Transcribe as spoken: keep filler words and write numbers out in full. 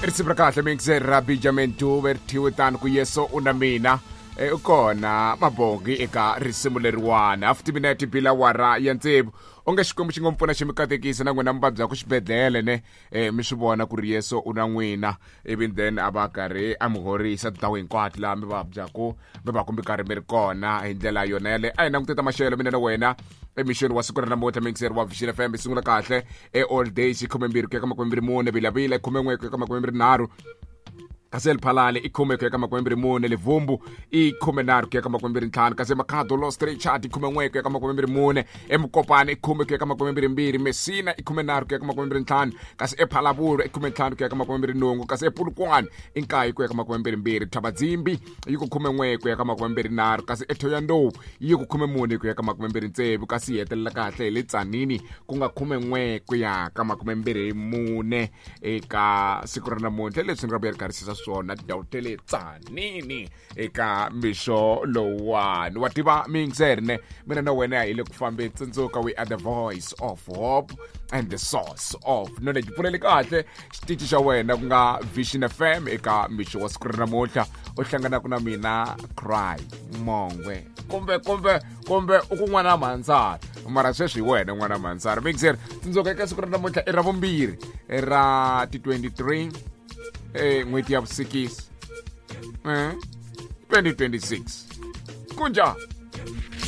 Risimu ra kahle mixer ra Benjamin Dube ri thyiwe tani ku Yesu u na mina. E, u kona mabongi eka risimu leriwani half timinete bila wara ya tsevu. Onge Xikwembu xi ngo mi pfuna xi mi katekisa na n'wina mi vabyaku xibedhlele ne e, mi swi vona ku ri Yesu u na n'wina, ivi then a va karhi a mi horisa tindhawu hinkwato laha mi vabyaku mi va ku mi karhi mi ri kona hi ndlela yona yaleyo. A hi languteta maxelo mina na wena emixweni wa siku ra namuntlha. Mixer wa Vision F M yi sungula kahle e all days i khumembirhi ku ya ka makumembirhi mune, Vilavila i khumen'we ku ya ka makumembirhi nharhu, kasi Lephalale i khume ku ya ka makumembirhi mune, Livumbu i khumenharhu ku ya ka makumembirhi ntlhanu, kasi Makhado Lost Richard i khumen'we ku ya ka makumembirhi mune, eMukopane i khume ku ya ka makumembirhi mbirhi, Messina i khumenharhu ku ya ka makumembirhi ntlhanu, kasi ePhalaburu i khumentlhanu ku ya ka makumembirhi nhungu, kasi ePulukwane i nkaye ku ya ka makumembirhi mbirhi, Thabadzimbi yi ku khumen'we ku ya ka makumembirhi nharhu, kasi eThohoyandou yi ku khumemune ku ya ka makumembirhi tsevu, kasi yi hetelela kahle hi le Tzaneen ku nga khumen'we ku ya ka makumembirhi mune eka siku ra namuntlha. Leswi ni nga vuya ri karhi swona tindhawu ta le Tzaneen eka mixo lowuwani. Wa tiva mixer ne mina na wena hi le ku fambeni, tsundzuka we are the voice of hope and the source of knowledge. Pfuleli kahle xitichi xa wena ku nga Vision F M eka mixo wa siku ra namuntlha, u hlanganaka na mina Cry Mongwe kumbe kumbe kumbe u ku n'wana Mhandzara, mara sweswi hi wena n'wana Mhandzara. Mixer tsundzuka eka siku ra namuntlha i ra vumbirhi ra ti twenty-three eh n'hweti ya vusikisi eh twenty twenty-six. Kunjani?